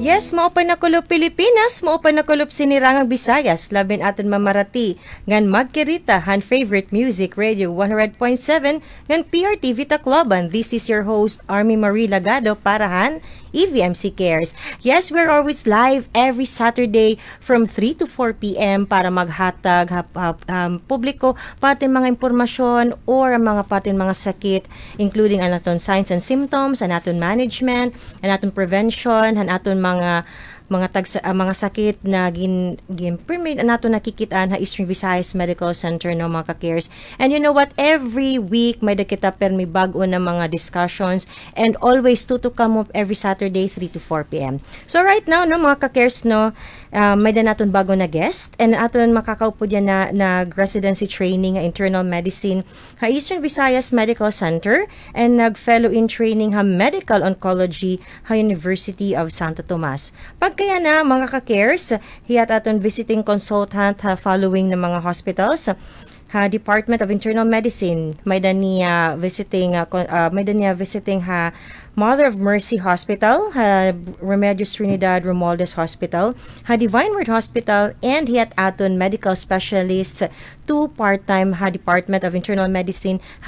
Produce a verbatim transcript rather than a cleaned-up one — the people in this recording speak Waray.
Yes, maupay na kulop Pilipinas, maupay na kulop sinirangang Visayas, labi na aton mamarati ngan magkirita han favorite music radio one hundred point seven ngan P R T V Tacloban. This is your host, Army Marie Lagado, para han E V M C Cares. Yes, we're always live every Saturday from three to four p m para maghatag ha, ha, um, publiko parte mga impormasyon or ang mga parte mga sakit, including an aton signs and symptoms, an aton management, an aton prevention, an aton mga mga tagsa, ah, mga sakit na gin, gin permi an aton nakikit-an ha Eastern Visayas Medical Center, no, mga ka-cares. And you know what? Every week, may da kita permi bag-o na mga discussions. And always, tutok kamo every Saturday, three to four p m. So right now, no, mga ka-cares, no, ah, may da naton bag-o na guest. And aton makakaupod yana nag-residency training ha internal medicine ha Eastern Visayas Medical Center and nag-fellow in training ha medical oncology ha University of Santo Tomas. Pagkayana, mga ka-cares, hiya it aton visiting consultant ha following na mga hospitals. Ha Department of Internal Medicine, may da niya visiting, ah, kon-, ah, may da niya visiting ha Mother of Mercy Hospital, ha Remedios Trinidad Romualdez Hospital, ha Divine Word Hospital, and hiya it aton medical specialist, two part-time ha Department of Internal Medicine ha